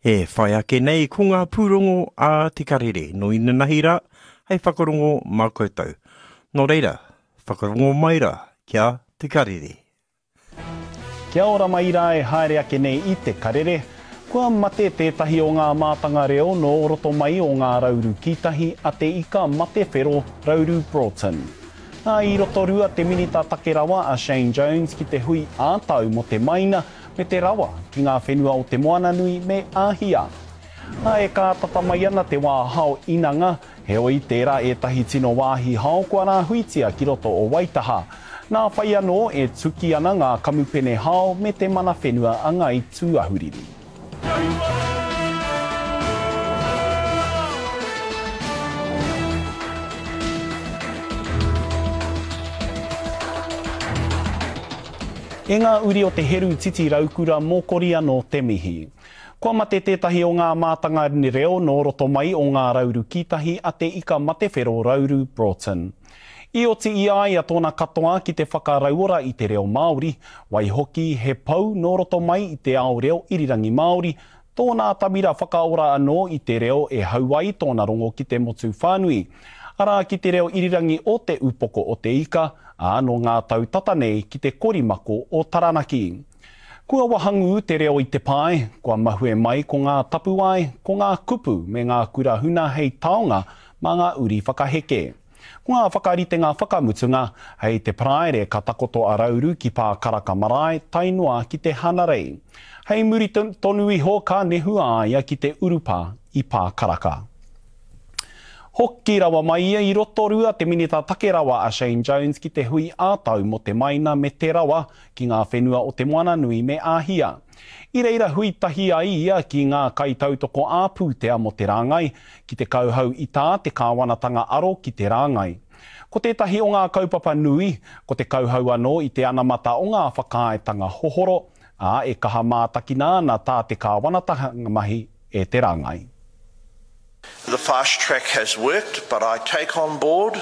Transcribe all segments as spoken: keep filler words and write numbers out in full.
E whai ake nei ko ngā pūrongo a Te Karere nō inanahi rā hei whakarongo mā koutou. Nō reira, whakarongo mai rā ki a Te Karere. Kia ora mai rā e haere ake nei i Te Karere. Kua mate tētahi o ngā mātanga reo nō roto mai o Ngā Rauru Kītahi a Te Ika Matewhero Rauru Broughton. Ā, i Rotorua te minita take rawa a Shane Jones ki te hui ā-tau mō te maina me te rawa ki ngā whenua o Te Moananui me Āhia. Ā, e kātata mai ana te wā hao inanga, heoi tērā ētahi tino wāhi hao kua rāhuitia ki roto o Waitaha. Nā whai anō e tuki ana ngā kamupene hao me te mana whenua a Ngāi Tūāhuriri. E ngā uri o te heru titi raukura mōkori anō te mihi. Kua mate tētahi o ngā mātanga reo nō roto mai o Ngā Rauru Kītahi a Te Ika Matewhero Rauru Broughton. I oti i a ia tōna katoa ki te whakarauora i te reo Māori, waihoki he pou nō roto mai i te ao reo irirangi Māori, tōna atamira whakaora anō i te reo e hau ai tōna rongo ki te motu whānui. Arā ki te reo irirangi o Te Upoko o Te Ika, ā, nō ngā tau tata nei ki te korimako o Taranaki. Kua wahangū te reo i te pae, kua mahue mai ko ngā tapuwae, ko ngā kupu me ngā kura huna hei taonga mā ngā uri whakaheke. Ko ngā whakaritenga whakamutunga, hei te Paraire ka takoto a Rauru ki Pākaraka marae tae noa ki te Hanarei. Hei muri tonu iho ka nehu a ia ki te urupā i Pākaraka. Hoki rawa mai ia i Rotorua te minita take rawa a Shane Jones ki te hui ā-tau mō te maina me te rawa ki ngā whenua o Te Moananui me Āhia. I reira hui tahi ai ia ki ngā kaitautoko ā-pūtea mō te rāngai, ki te kauhau i tā te kāwanatanga aro ki te rāngai. Ko tētahi o ngā kaupapa nui, ko te kauhau anō i te anamata o ngā whakaaetanga hohoro, ā, e kaha mātakina ana tā te kāwanatanga mahi e te rāngai. The fast track has worked, but I take on board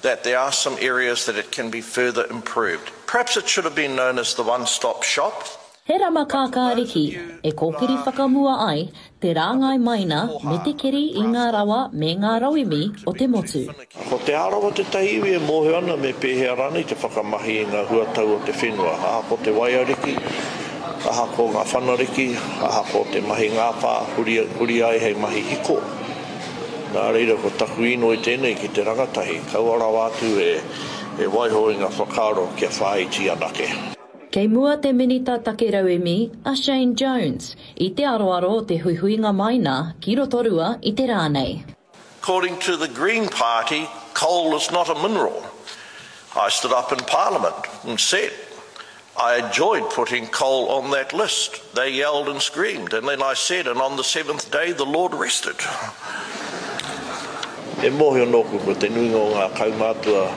that there are some areas that it can be further improved. Perhaps it should have been known as the one-stop shop. He rama kākāriki e kōkiri whakamua ai te rāngai maina me te keri i ngā rawa me ngā rauemi o te motu. Ko Te Arawa tētahi iwi e mōhio ana me pēhea rānei te whakamahi i ngā huatau o te whenua, ahakoa te waiariki, ahakoa ngā whanariki, ahakoa te mahi ngāwhā, huri, huri ai hei mahi hiko. Nā reira ko taku inoi tēnei ki te rangatahi, kaua rawa atu e, e waiho i ngā whakaaro kia whāiti anake. Kei mua te Minita Take Rauemi a Shane Jones i te aroaro o te huihuinga maina ki Rotorua i te rā nei. According to the Green Party, coal is not a mineral. I stood up in Parliament and said, I enjoyed putting coal on that list. They yelled and screamed, and then I said, and on the seventh day the Lord rested. E mōhio nōku ko te nuinga o ngā kaumātua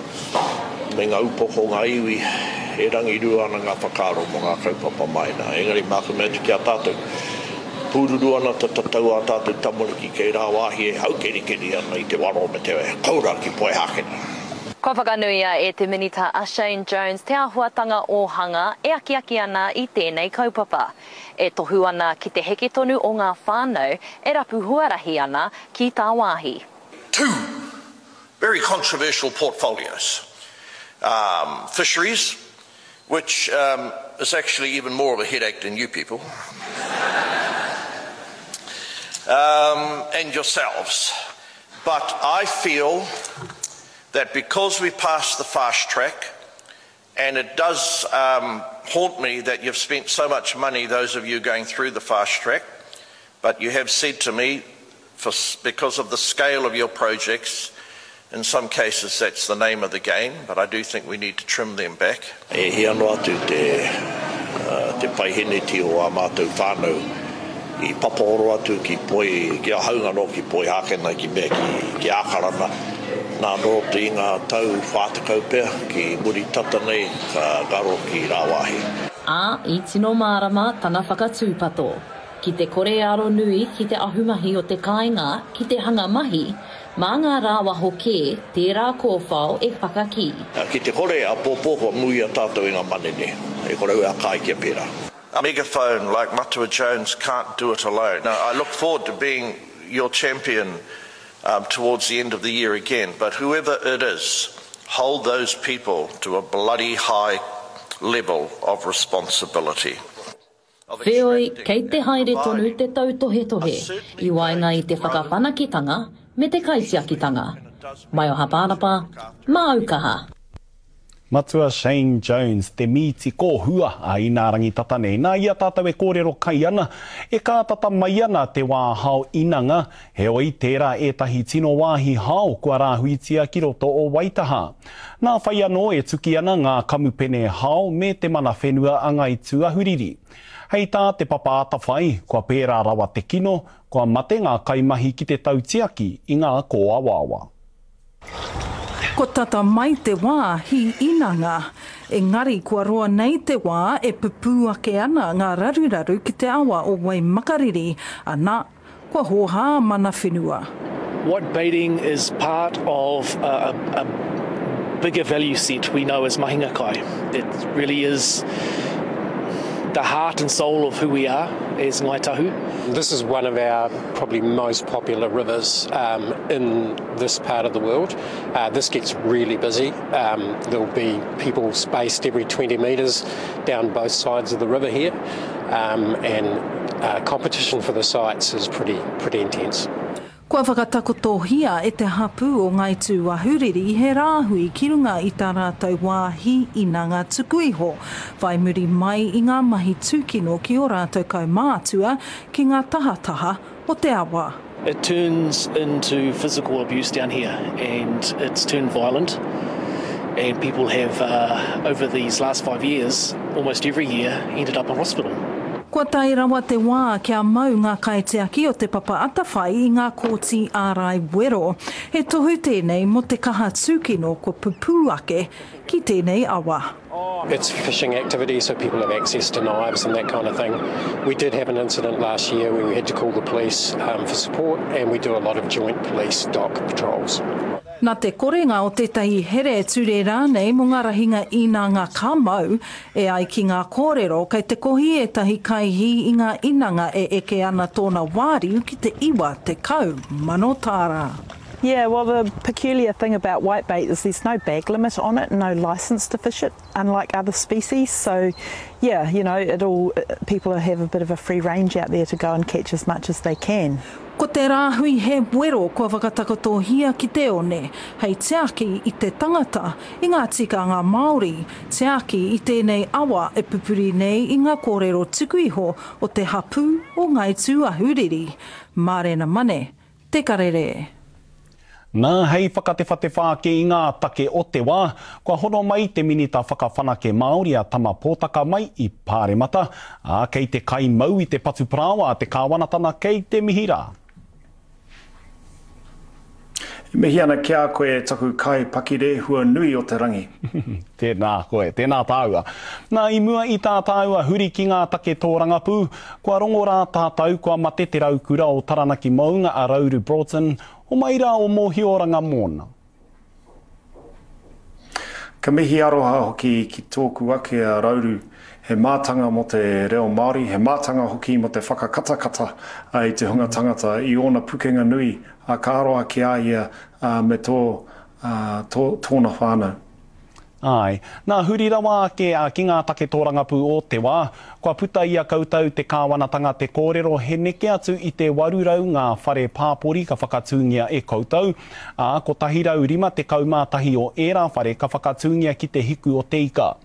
me ngā upoko o ngā iwi e rangirua ana ngā whakaaro mō ngā kaupapa maina. Engari māku mea atu ki a tātou, pūruru ana te tatau ā tātou tamariki kei rāwāhi e haukerikeri ana i te waro me te koura ki Poihākena. Kua whakanuia e te Minita a Shane Jones te āhuatanga ōhanga e akiaki ana i tēnei kaupapa. E tohu ana ki te heke tonu o ngā whānau e rapu huarahi ana ki tāwāhi. Two very controversial portfolios. Um, fisheries, which um, is actually even more of a headache than you people, um, and yourselves. But I feel that because we passed the fast track, and it does um, haunt me that you've spent so much money, those of you going through the fast track, but you have said to me, for, because of the scale of your projects, in some cases that's the name of the game, but I do think we need to trim them back. E hia noa atu te, uh, te paiheneti o ā mātou whānau i papahoro atu ki Poi, ki a haunga nō ki Poihākena, ki mea ki, ki Ākarana. Nā nō te i ngā tau whā tekau pea ki muri tata nei ka ngaro ki rāwāhi. Ā, i tino mārama tana whakatūpato. Ki te kore aro nui ki te ahumahi o te kāinga ki te hanga mahi, mā ngā rāwaho kē tērā kōwhao e whakakī. Ki te kore, āpōpō kua muia tātou e ngā manene, e kore au e ākai kia pērā. A megaphone like Matua Jones can't do it alone. Now, I look forward to being your champion um, towards the end of the year again, but whoever it is, hold those people to a bloody high level of responsibility. Wheoi, kei te haere tonu te tautohetohe i waenga i te whakawhanaketanga me te kaitiakitanga. Maioha Pānapa, māu kaha. Matua Shane Jones, te mīti kōhua a Inārangi tata nei. Nā i a tātou e kōrero kai ana, e kātata mai ana te wā hao inanga, heoi tērā ētahi tino wāhi hao kua rāhuitia ki roto o Waitaha. Nā whai anō e tuki ana ngā kamupene hao me te mana whenua a Ngāi Tūāhuriri. Hei tā te Papa Atawhai, kua pērā rawa te kino, kua mate ngā kaimahi ki te tautiaki i ngā kōawaawa. Ko tata mai te wā hī inanga, engari kua roa nei te wā e pupū ake ana ngā raruraru ki te awa o Waimakariri, ana, kua hōhā mana whenua. White baiting is part of a, a, a bigger value set we know as mahinga kai. It really is the heart and soul of who we are as Ngāi Tahu. This is one of our probably most popular rivers um, in this part of the world. Uh, this gets really busy. Um, there'll be people spaced every twenty metres down both sides of the river here, um, and uh, competition for the sites is pretty, pretty intense. Kua whakatakotohia e te hapū o Ngāi Tūāhuriri he rāhui ki runga i tā rātou wāhi inanga tuku iho, whai muri mai i ngā mahi tūkino ki ō rātou kaumātua ki ngā tahataha o te awa. It turns into physical abuse down here, and it's turned violent, and people have, uh, over these last five years, almost every year, ended up in hospital. Kua tae rawa te wā kia mau ngā kaitiaki o te Papa Atawhai i ngā kōti ārai wero. He tohu tēnei mō te kaha tūkino kua pupū ake ki tēnei awa. It's fishing activity, so people have access to knives and that kind of thing. We did have an incident last year where we had to call the police um, for support, and we do a lot of joint police dock patrols. Nā te korenga o tētahi here ture rānei mō ngā rahinga inanga ka mau, e ai ki ngā kōrero kei te kohi ētahi kaihī i ngā inanga e eke ana tōna wāriu ki te iwa tekau mano tāra. Yeah, well, the peculiar thing about whitebait is there's no bag limit on it, no license to fish it, unlike other species. So, yeah, you know, it'll, people have a bit of a free range out there to go and catch as much as they can. Ko te rāhui he wero kua whakatakotohia ki te one, hei tiaki i te tangata, i ngā tikanga Māori, tiaki i tēnei awa e pupuri nei i ngā kōrero tuku iho o te hapū o Ngāi Tūāhuriri. Mārena Mane, Te Karere. Nā, hei whakatewhatewha ake i ngā take o te wā, kua hono mai te minita whakawhanake Māori a Tama Pōtaka mai i Pāremata, ā, kei te kaimau i te patu parāoa a te kāwanatana kei te mihi rā. E mihi ana ki a koe taku kai pakirehua nui o te rangi. Tēnā koe, tēnā tāua. Nā, i mua i tā tāua huri ki ngā take tōrangapū, kua rongo rā tātou kua mate te raukura o Taranaki Mounga a Rauru Broughton, o mai rā o Mōhioranga mōna. Ka mihi aroha hoki ki tōku ake a Rauru, he mātanga mō te reo Māori, he mātanga hoki mō te whakakatakata i te hunga tangata i ōna pukenga nui a ka aroha ki a ia me tō, tō, tōna whānau. Ai. Nā, huri rawa ake ki ngā take tōrangapū o te wā, kua puta i a koutou te kāwanatanga te kōrero he neke atu i te waru rau ngā whare pāpori ka whakatūngia e koutou, ā, kotahi rau rima tekau mā tahi o ērā whare ka whakatūngia ki te hiku o te ika.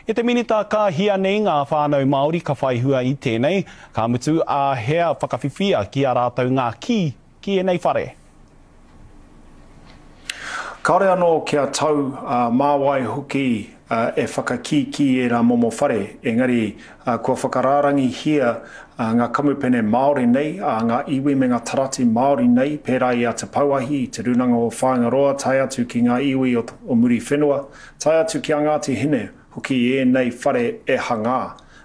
E te minita ka hia nei ngā whānau Māori ka whai hua i tēnei, ka mutu a hea whakawhiwhia ki a rātou ngā kī ki ēnei whare. Kāore anō kia tau uh, māwai hoki uh, e whakakīkī e rā momo whare, engari uh, kua whakarārangihia uh, ngā kamupene Māori nei, uh, ngā iwi me ngā tarati Māori nei, pērā i a Te Pauahi, i Te Rūnanga o Whāingaroa, tae atu ki ngā iwi o, o Muriwhenua, tae atu ki a Ngāti Hine, hoki e nei whare e hangā.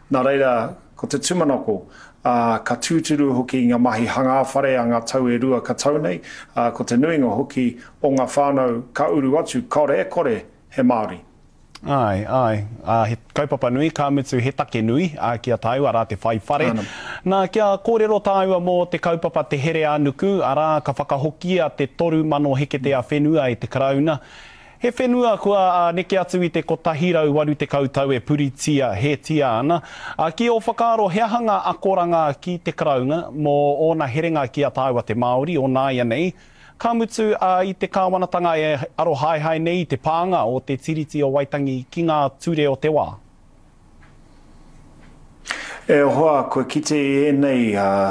Nā reira, ko te tūmanako, Uh, ka tūturu hoki ngā mahi hangā whare a ngā tau e rua ka tau nei, uh, ko te nuinga hoki o ngā whānau ka uru atu, kaore e kore he Māori. Āe, āe. Ā, he kaupapa nui, ka mutu he take nui, ā, ki a tāua, arā, te whai whare. Āna. Nā, kia kōrero tāua mō te kaupapa Te Here ā-Nuku, arā, ka whakahokia te toru mano heketea whenua e te Karauna. He whenua kua ā, neke atu i te kotahi rau waru tekau tau e puritia hētia ana. Ā, ki ō whakaaro, he aha ngā akoranga ki te Karauna mō ōna herenga ki a tāua te Māori o nāianei, ka mutu ā, i te kāwanatanga e arohaehae nei i te pānga o te Tiriti o Waitangi ki ngā ture o te wā? E hoa, kua kite i ēnei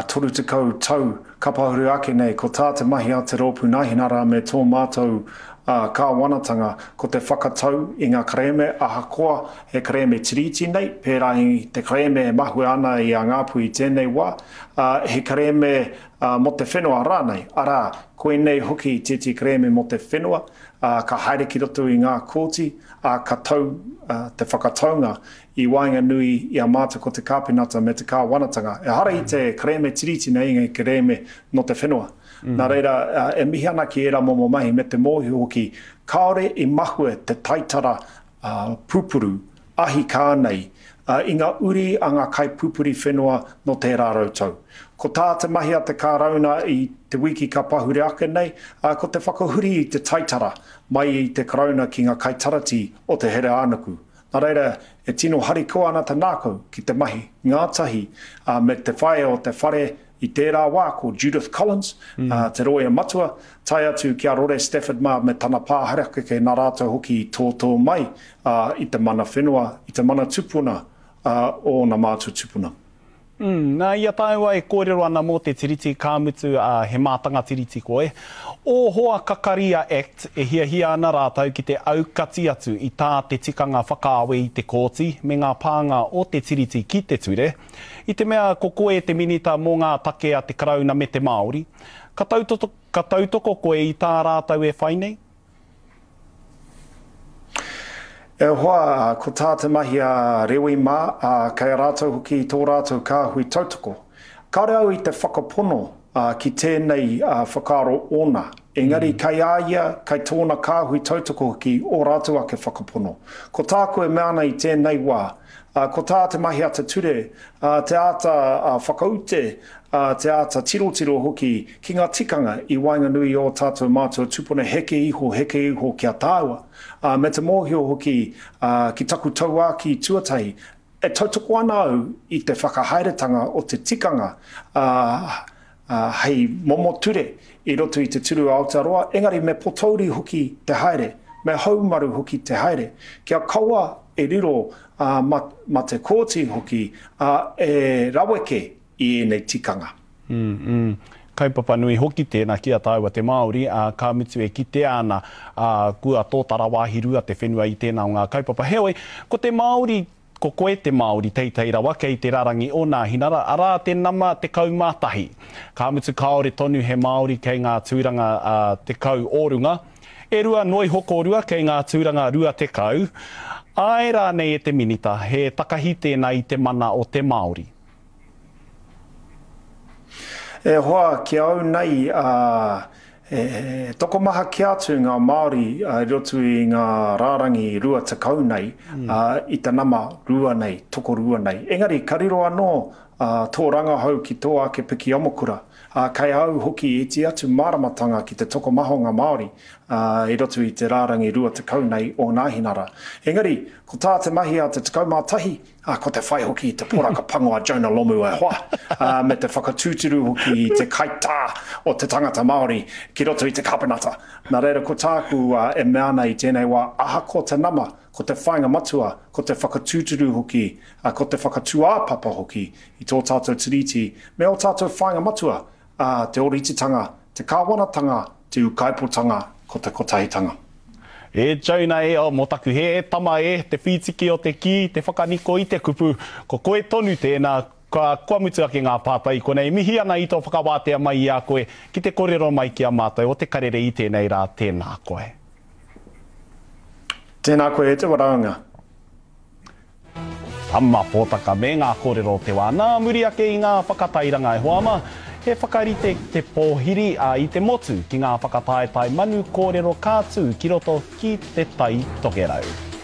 toru tekau tau ka pahuru ake nei, ko tā te mahi a te Rōpū Nāhinara me tō mātou kāwanatanga, ko te whakatau i ngā kerēme ahakoa he kerēme tiriti nei, pērā i te kerēme e mahue ana i a Ngāpuhi i tēnei wā, he kerēme mō te whenua rānei, arā, koinei hoki tētehi kerēme mō te whenua, ka haere ki roto i ngā kōti, ā, ka tau te whakataunga i waenganui i a mātou ko te Kāpinata me te Kāwanatanga. Ehara i te kerēme tiriti nei, engari kerēme nō te whenua. Nā reira, e mihi ana ki ērā momo mahi me te mōhio hoki, kāore i mahue te taitara pupuru ahi kā nei i ngā uri a ngā kaipupuri whenua nō tērā rautau. Ko tā te mahi a te Kārauna i te wiki ka pahure ake nei, ko te whakahuri i te taitara mai i te Karauna ki ngā kaitarati o te Here-ā-nuku. Nā reira, e tino harikoa ana te ngākau ki te mahi ngātahi me te whaea o te whare i tērā wā ko Judith Collins, te rōia matua, tae atu ki a Rore Stafford mā me tana pā harakeke nā rātou hoki i tōtō mai i te mana whenua, i te mana tupuna o ōna mātua tupuna. Mm, nā, i a tāua e kōrero ana mō te Tiriti, ka mutu, ā, he mātanga Tiriti koe. Ō hoa kakari a act e hiahia ana rātou ki te aukati atu i tā te tikanga whakaawe i te kōti me ngā pānga o te Tiriti ki te ture, i te mea ko koe te minita mō ngā take a te Karauna me te Māori, ka tautoko, ka tautoko koe i tā rātou e whai nei? E hoa, ko tā te mahi a Rewi mā, ā, kei a rātou hoki tō rātou kāhui tautoko. Kāore au i te whakapono ki tēnei whakaaro ōna, engari kei a ia, kei tōna kāhui tautoko hoki ō rātou ake whakapono. Ko tāku e mea ana i tēnei wā, ko tā te mahi a te ture, te āta whakaute, te āta tirotiro hoki ki ngā tikanga i waenganui i ō tātou mātua tupuna heke iho, heke iho ki a tāua, me te mōhio hoki ki taku tauākī tuatahi, e tautoko ana au i te whakahaeretanga o te tikanga hei momo ture i roto i te turu Aotearoa, engari me potouri hoki te haere, me haumaru hoki te haere, kia kaua e riro ma te kōti hoki e raweke i ēnei tikanga. Mm, mm. Kaupapa nui hoki tēnā ki a tāua te Māori, ā, ka mutu e kitea ana, ā, kua tōtara wāhi rua te whenua i tēnā o ngā kaupapa. Heoi, ko te Māori, ko koe te Māori teitei rawa kei te rarangi o Nāhinara, arā te nama tekau mā tahi. Ka mutu kāore tonu he Māori kei ngā tūranga ā, tekau o runga, e rua noa iho kōrua kei ngā tūranga rua tekau. Āe rānei e te Minita, he takahi tēnā i te mana o te Māori? E hoa, ki au nei, ā, he tokomaha kē atu ngā Māori i roto i ngā rārangi rua tekau nei, ā, i te nama rua nei, tokorua nei. Engari, ka riro anō tō rangahau ki tō ake piki amokura, ā, kei au hoki iti atu māramatanga ki te tokomaha o ngā Māori i roto i te rārangi rua tekau nei o Nāhinara. Engari, ko tā te mahi a te tekau mā tahi, ā, ko te whai hoki i te poraka pango a Jonah Lomu e hoa, ā, me te whakatūturu hoki i te kaitā o te tangata Māori ki roto i te kāpenata. Nā reira, ko tāku e mea ana i tēnei wā, ahakoa te nama, ko te whāinga matua, ko te whakatūturu hoki, ko te whakatūāpapa hoki i tō tātou tiriti, me ō tātou whāinga matua, ā, te ōrititanga, te kāwanatanga, te ūkaipotanga, ko te kotahitanga. E Jonah e, oh, mō taku hē, e tama e, te whītiki o te kī, te whakaniko i te kupu, ko koe tonu tēnā, kua, kua mutu ake ngā pātai i konei. Mihi ana i tō whakawātea mai i a koe ki te kōrero mai ki a mātou o Te Karere i tēnei rā, tēnā koe. Tēnā koe e te waraunga. Tama Pōtaka me ngā kōrero o te wā. Nā muri ake i ngā whakatairanga e hoa ma, he whakarite te pōhiri a i te motu ki ngā whakataetae manu kōrero ka tū ki roto ki te Tai Tokerau.